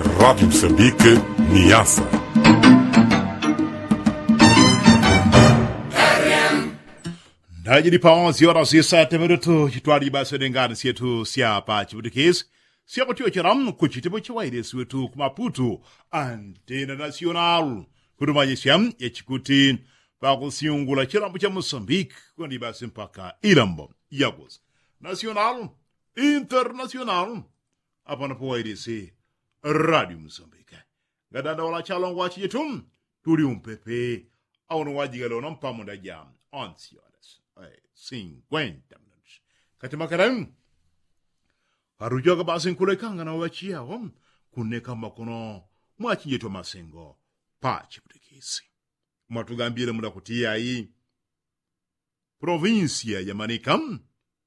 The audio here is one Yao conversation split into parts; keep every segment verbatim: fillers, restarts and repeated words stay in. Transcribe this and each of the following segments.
Radi msambike, niasa. Ndajili paonsi ora sisa temeretu chitwali basi dengani syetu sya pa chiputikisi sya kutyochela kuchitepo chiwailesi wetu kumaputu, antena nasional, kutumanyisya yachikuti pakusyungula chilambo cha mosambiki kwandi basi mpaka ilambo yakusi nasional, internasional. Apano pawailesi radio mosambiki. Ngadanda wala chalongo wachijitu tuli umpepe. Auno wajigalona mpamunda ja onsi horas sinkwenta minutu kati makaramu. Parujoka basi nkulekanga na wachiyawo kuneka makono mwachinjitwa masengo pa chiputikisi. Mwatugambile mula kuti yayi provinsia ya manika,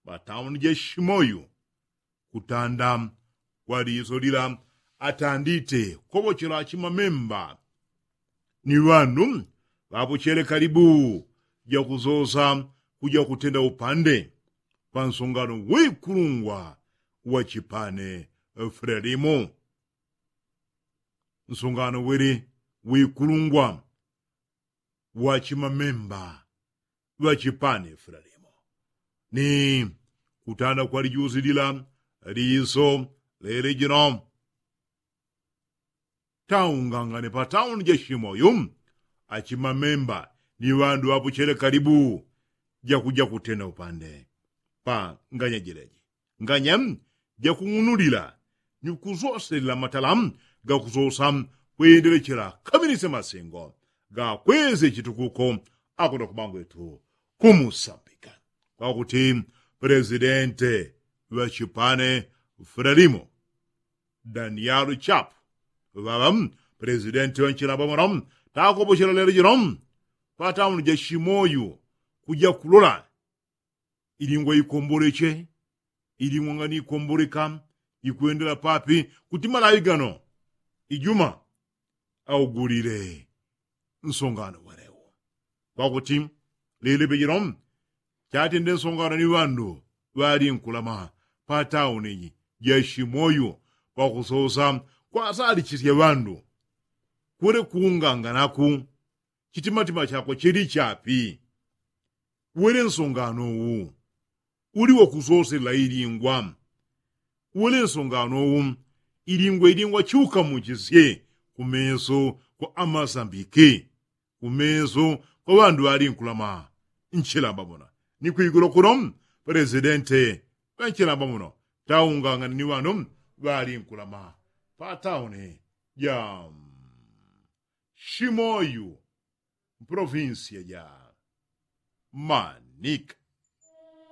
patauni ja shimoyu kutanda kwa liso lila atandite kopochela chimamemba ni ŵandu ŵapochele kalibu jakusosa kuja kutenda upande pa nsongano wikulungwa wa chipane frelimu. Nsongano wili wikulungwa wa chimamemba ŵa chipane frelimu ni kutanda kwa lijusi lila liso lele jino taungangane patauni ja shimoyu achimamemba ni ŵandu ŵapochele kalibu jakuja kutenda upande pa nganya jileji nganya jakung'unulila ni kusoselela matala gakusosa kwendelechela kaminisya masengo gakwesye chitukuko. Akuno kumangwetu kumusambika kwakuti presidente ŵa chipane frelimu daniel chapu ŵaŵa presidente ŵa nchilamba muno takopochela lelo jino patauni ja shimoyu kuja kulola ilingwa ikomboleche ilingwa ngani ikomboleka ikwendela papi kuti malawi gano ijuma augulile nsongano walewo. Kwakuti lile pejelo chatende nsongano ni ŵandu ŵalinkulama patauni ja shimoyu kwakusosa kwasalichisya ŵandu kule kuunganganaku chitimatima chakwe chili chapi? Wele nsongano wu uli wakusosela ilingwa? Wele nsongano wu ilingwa ilingwa chiukamuchisye kumeso kwa amasambiki kumeso kwa ŵandu ŵalinkulama nchilamba muno ni kwigulu kuno presidente ŵa nchilamba muno taungangane ni ŵandu ŵalinkulama patauni ja shimoyu mprovinsia ja manika.